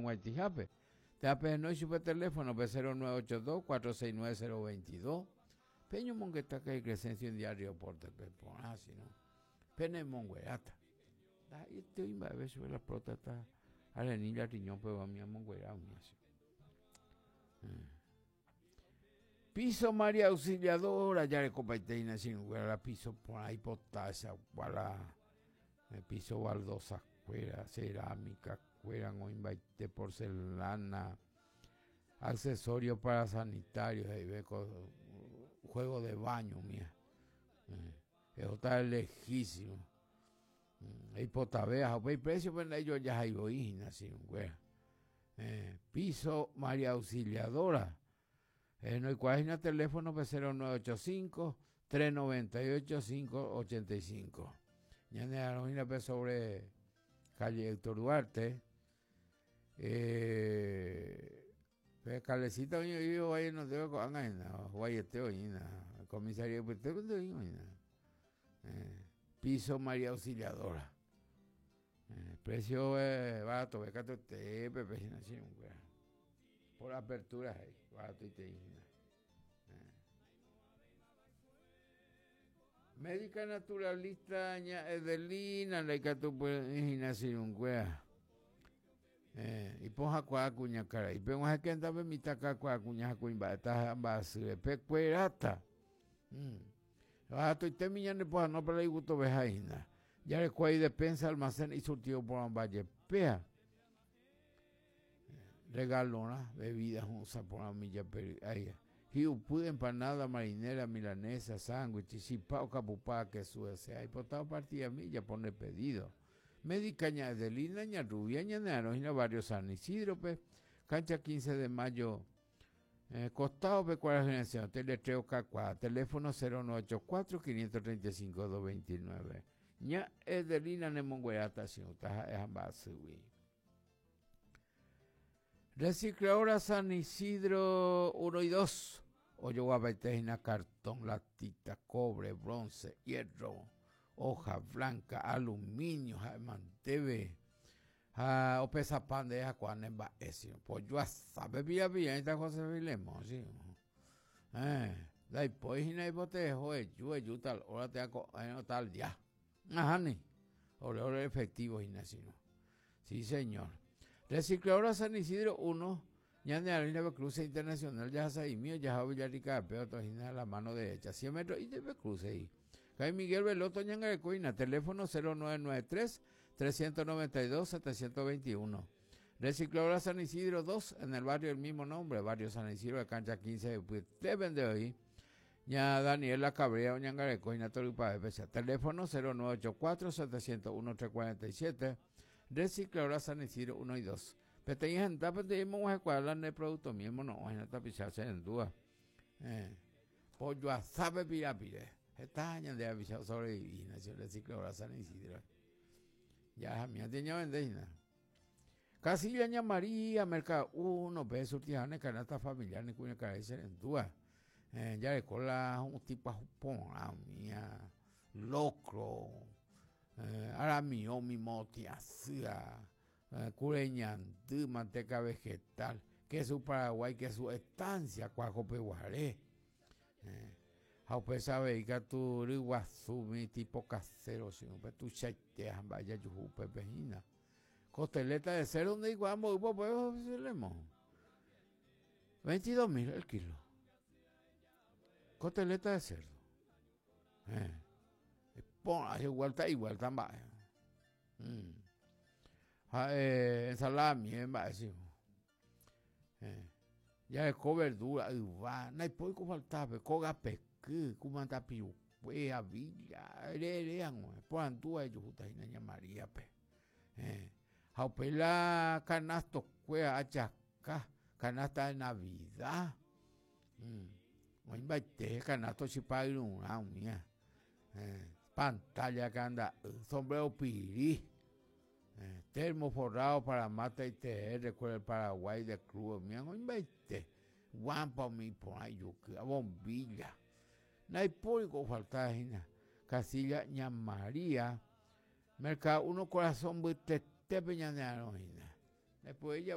hug̃uaitĩhápe. Térã pehenói chupe teléfono-pe 0982 469 022. Peñomongeta karai Crescencio India Río Porte-pe porã, sino penemongueráta. Ndaha'eiete oĩ mba'eve chupe la próstata arenilla riñón pegua umi amonguera umi asy. Piso María Auxiliadora jarekopaite hína che irũnguéra la piso porã ipotáchagua la piso baldosa kuéra, cerámica kuéra oĩmbaite porcelana, accesorio para sanitario he'ive ko juego de baño umía. Ehóta lejísimo. Eipotave ha upéi precio-pe ndaijojahái voi hína che irũnguéra. Piso María Auxiliadora. Noikuaa hína teléfono-pe 0985 398 585. Ñane arõ hína pe sobre calle Héctor Duarte. Pe calecita oĩ oĩ oĩ no debe ko'ág̃a hína, huaiete oĩ hína, comisaría ypytépe oĩ hína. Piso María Auxiliadora. Precio baratove katuete pepe hína che irũnguéra. Por apertura he'i, baratoitei hína. Médica naturalista ña Edelina ndaikatupyry'ỹ hína che irũnguéra. Ipohãkuaa kuñakarai. Peg̃uahẽke mitã kakuaa kuña ha kuimba'e ha mba'asýre. Pekueráta. Baratoitémi ñane pohãno pe la igustoveha hína. Jarekuái despensa, almacén isurtido porãmba jepéa. Regalorã, bebida hũ'ũsa porã umi japery'áiga. Hi'upy, empanada, marinera, milanesa, sándwich, chipa okapupa, kesu hese. Aipota opartillami ijapo nde pedido. Médica ña Edelina, ña Rubia, ñane arõ hína barrio San Isidro-pe, cancha 15 de mayo Costado-pe kuarahyresẽ teletreo kakuaa, teléfono 0984 535 229. Ña Edelina nemongueráta chiũta ha'e ha mba'asýgui. Recicladora San Isidro 1 y 2 ojoguapaite hína cartón, latita, cobre, bronce, hierro, hoja blanca, aluminio ha'e manteve. Ha opesapa nde hakuaa ne mba'e si pojoasa pe pilla pillaita José Filemón si eh ndaipói hína ipoteho eju eju tal hora térã ko'ẽrõ tal día nahániri ore ore efectivo hína si sí señor Recicladora San Isidro 1 ñane arĩna pe cruce internacional jahasa'imi ojaha Villarrica pe oto hína la mano derecha 100 metro ite pe cruce i Kay Miguel Veloto oñangareko hína teléfono 0993 392 721. Recicladora San Isidro 2, en el barrio del mismo nombre, barrio San Isidro de cancha 15 de ypytépe nde oĩ. Ña Daniela Cabrera oñangareko hína torypave pecha. Teléfono 0984 701 347. Recicladora San Isidro 1 y 2. Peteĩ hendápe nde emog̃uahẽkuaa la nde productomi emono'õ hína tapicha che rendúva. Eh. Pojoasápe pirapire. Heta ñande rapicha osobrevivi hína che recicladora San Isidro. Ya miate ñavende hína. Casilla ña María, Mercado 1, pe surtiháne canasta familiar ne kuñakarai che rendúva. Eh, jareko la hu'ũti pyahu porã umía, locro, eh, aramiõ umi motĩ asýva, eh, kure ñandy, manteca vegetal, kesu Paraguái, kesu estancia kuajopeguare. Eh, ha upéicha avei katu ryguasu umi tipo casero che upe tuichaite ha mba'e jajuhu upépe hína. Costeleta de cerdo ndeikuaa mboýpa upéva oficialemo. 22.000 el kilo. Costeleta de cerdo. Eh. Porã, igualta, igualta mba'e. Ha eh, ensalada mie mba'e si. Eh. Jareko verdura, yva, naipói ko faltápe, kóga peky, kumanda pirukue, avilla, ere ere hag̃ua, porandúva ejuhúta hína ña Maríape. Eh. Ha upéi la canasto-kuéra achaka, canasta de Navidad. Oĩmbaite canasto chipa yrurã umía. Eh, pantalla kanda'y, sombrero piri. Eh, termo forrado para mate y té, recuerdo el Paraguay de club, umía oĩmbaite. Guampa umi iporã ijuky, bombilla. Ndaipóri ko ofalta hína. Casilla Ña María, Mercado 1 corazón mbytetépe ñane arõ hína. Ndaipóri javy.